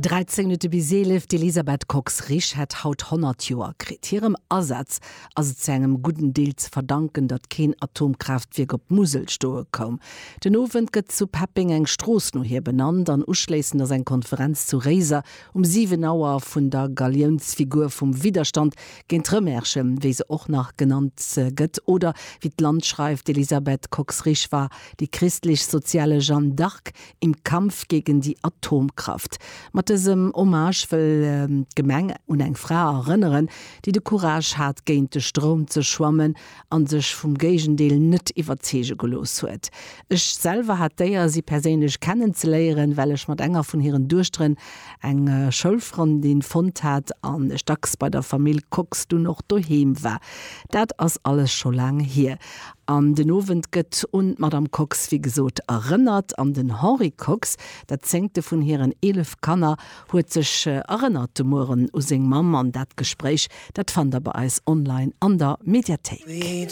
13 Minutte bis 11, D'Elisabeth Kox-Risch hätt haut 100 Joer kritt. Hirem Asaz ass et zu engem gudden Deel ze verdanken, datt keen Atomkraaftwierk op d'Musel stoe koum. Den Owend gëtt zu Peppeng eng Strooss no hir benannt an uschléissend ass eng Konferenz zu Réiser um 7 Auer vun der Galiounsfigur vum Widderstand géint d'Rëmerschen, wéi se och nach genannt gëtt, oder wéi d'Land schreift, d'Elisabeth Kox-Risch war die christlich-soziale Jeanne d'Arc Im Kampf gegen die Atomkraft. Mat dësem Hommage wëll d'Gemeng un eng Fra erënneren, déi de Courage hat, géint de Stroum ze schwammen a sech vum Géigendeel net iwwerzeege gelooss huet. Ech selwer hat d'Éier, si perséinlech kennenzeléieren, well ech mat enger vun hiren Duechteren eng Schoulfrëndin fonnt hat an ech dacks bei der Famill Kox dunn och doheem war. Dat ass alles scho laang hier. An den Owend gëtt un d'Madame Kox wéi gesot erënnert. An den Henri Kox, dat zéngte vun hiren 11 Kanner, huet sech erënnert de Mueren u seng Mamm. An dat Gespréich, dat fannt der bei eis online an der Mediathéik.